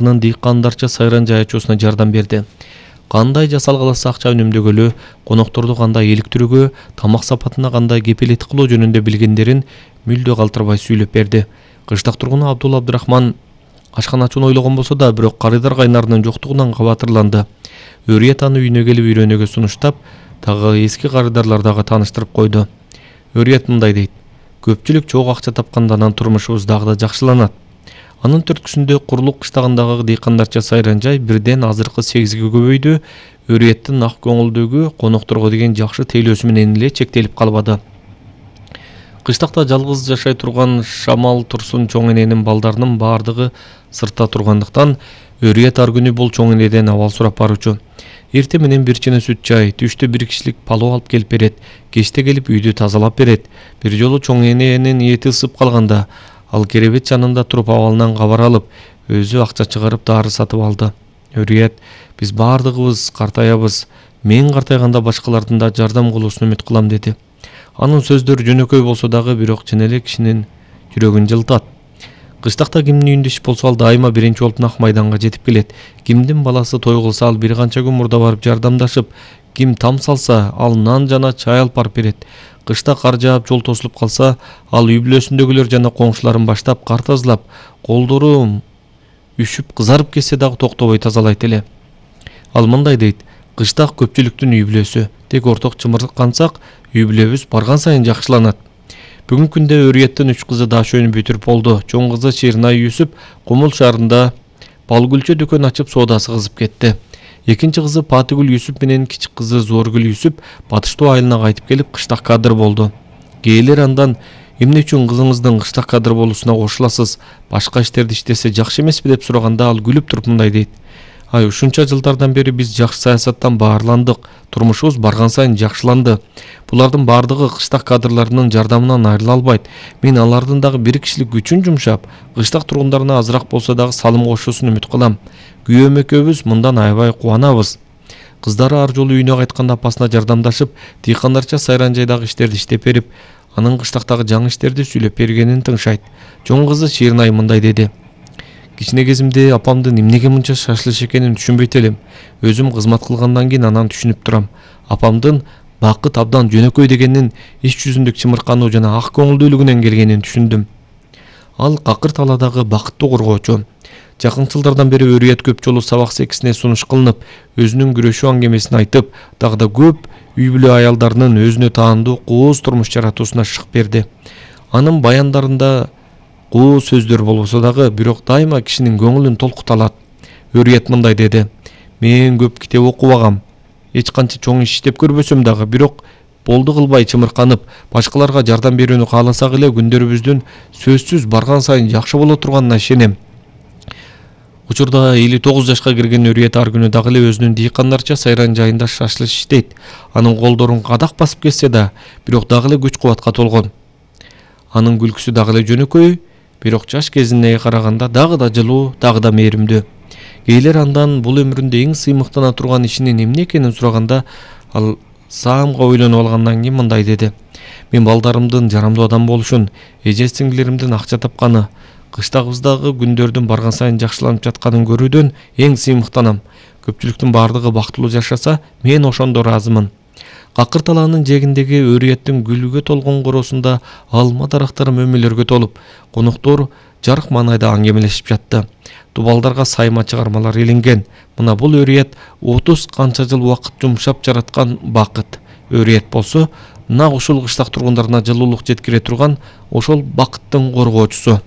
Дыйкандарча сайран жайчоосуна жардам берди. Кандай жасалгаласа акча үнөмдөгөлү, конокторду кандай иликтирүүгө, тамак сапатына кандай кепилеттик кылуу жөнүндө билгендерин мүлдө калтырбай сүйлөп берди. Кыштак тургуну Абдулла Абдурахман ашкан ачууну ойлогон болсо да, бирок карыйдар кайнарынын жоктугунан кабатырланды. Өрүет аны үйүнө келип үйрөнүүгө сунуштап, дагы эски карыдарлар дагы тааныштырып койду. Өрүет мындай дейт: көпчүлүк чогуу акча тапканда анан турмушубуз дагы да жакшыланат. Анын төрткүсүндө Курлук кыштагындагы дыйкандарча сайран жай бирден азыркы 8ге көбөйдү. Өрүеттин ак көңүлдүгү конокторго деген жакшы тейлөөсү менен эле чектелип калбады. Кыштакта жалгыз жашай турган Шамал Турсун чоң эненин балдарынын баардыгы сыртта тургандыктан Өрүет ар күнү бул чоң энеден абал сурап баруучу. Эрте менен бир чыны сүт чай, түштө бир кишилик палоо алып келип берет, кечте келип үйдү тазалап берет. Бир жолу чоң эненин эти ысып калганда, ал керебет жанында туруп абалынан кабар алып, өзү акча чыгарып дары сатып алды. Өрүет: биз баардыгыбыз картаябыз, мен картайганда башкалардын да жардам кылуусун үмүт кылам деди. Анын сөздөрү жөнөкөй болсо дагы бирок чын эле кишинин жүрөгүн жылытат. Кыштакта кимдин үйүндө иш болсо ал дайыма биринчи болуп Ак майданга жетип келет. Кимдин баласы той кылса ал бир канча күн мурда барып жардамдашып, ким там салса ал нан жана чай алып барып берет. Кышта кар жаап жол тосулуп калса, ал үй бүлөсүндөгүлөр жана коңшуларын баштап кар тазалап, колдору үшүп кызарып кетсе дагы токтобой тазалайт эле. Ал мындай дейт: кыштак көпчүлүктүн үй бүлөсү. Тек орток чымыркансак, үй бүлөбүз барган сайын жакшыланат. Бүгүнкү күндө Өрүеттин 3 кызы дашөөнү бүтүрүп болду. Чоң кызы Ширнай Юсуп Кумул шаарында Балгүлчө дүкөн ачып соодасы кызып кетти. Экинчи кызы Патыгүл Юсуп менен кичик кызы Зоргүл Юсуп Батыш Тоо айылына кайтып келип кыштак кадыр болду. Кээелер андан: эмне үчүн кызыңыздын кыштак кадыр болуусуна кошуласыз? Башка иштерди иштесе жакшы эмеспи деп сураганда ал күлүп туруп мындай дейт: ай, ушунча жылдардан бери биз жакшы саясаттан баарландык, турмушубуз барган сайын жакшыланды. Булардын баардыгы кыштак кадрларынын жардамынан айрыла албайт. Мен алардын дагы бир кишилик күчүн жумшап, кыштак тургундарына азыраак болсо дагы салым кошуусун үмүт кылам. Күйөөм экөөбүз мындан аябай кубанабыз. Кыздары ар жолу үйүнө кайтканда апасына жардамдашып, дыйкандарча сайран жайдагы иштерди иштеп берип, анын кыштактагы жаңы иштерди сүйлөп бергенин тыңшайт. Чоң кызы Ширнай мындай деди: кичине кезимде апамдын эмнеге мынча шашлыш экенин түшүнбөйт элем. Өзүм кызмат кылгандан кийин анан түшүнүп турам. Апамдын бакыт абдан жөнөкөй дегенин иш жүзүндүк чымыркануу жана ак көңүлдүүлүгүнөн келгенин түшүндүм. Ал какыр талаадагы бакыттуу коргоочу. Жакын жылдардан бери Өрүет көп жолу сабак секисине сунуш кылынып, өзүнүн күрөшүү аңгемесин айтып, дагы да көп үй бүлө аялдарынын өзүнө таандуу кооз турмуш жаратуусуна шык берди. Анын баяндарында коо сөздөр болбосо дагы, бирок дайыма кишинин көңүлүн толкута алат. Өрүет мындай деди: мен көп китеп окубагам, эч канча чоң иш иштеп көрбөсөм дагы, бирок болду кылбай чымырканып, башкаларга жардам берүүнү кааласак эле күндөрүбүздүн сөзсүз барган сайын жакшы боло турганына ишенем. Учурда 59 жашка кирген Өрүет ар күнү дагы эле өзүнүн дыйкандарча сайран жайында шашлыш иштейт. Анын колдорун кадак басып кетсе да, бирок дагы эле күч кубатка толгон. Анын күлкүсү дагы эле жөнөкөй, бирок жаш кезине караганда дагы да жылуу, дагы да мээримдүү. Кээелер андан бул өмүрүндө эң сыймыктана турган ишинин эмне экенин сураганда, ал саамга ойлонуп алгандан кийин мындай деди: мен балдарымдын жарамдуу адам болушун, эже сиңдилеримдин акча тапканы, кыштагыбыздагы күндөрдүн барган сайын жакшыланып жатканын көрүүдөн эң сыймыктанам. Көпчүлүктүн баардыгы бактылуу жашаса, мен ошондо ыраазымын. Какыр талаанын жээгиндеги Өрүеттин гүлгө толгон короосунда алма дарактары мөмөлөргө толуп, коноктор жарык маанайда аңгемелешип жатты. Дубалдарга сайма чыгармалар илинген. Мына бул Өрүет 30 канча жыл убакыт жумшап жараткан бакыт. Өрүет болсо, нак ушул кыштак тургундарына жылуулук жеткире турган ошол бакыттын коргоочусу.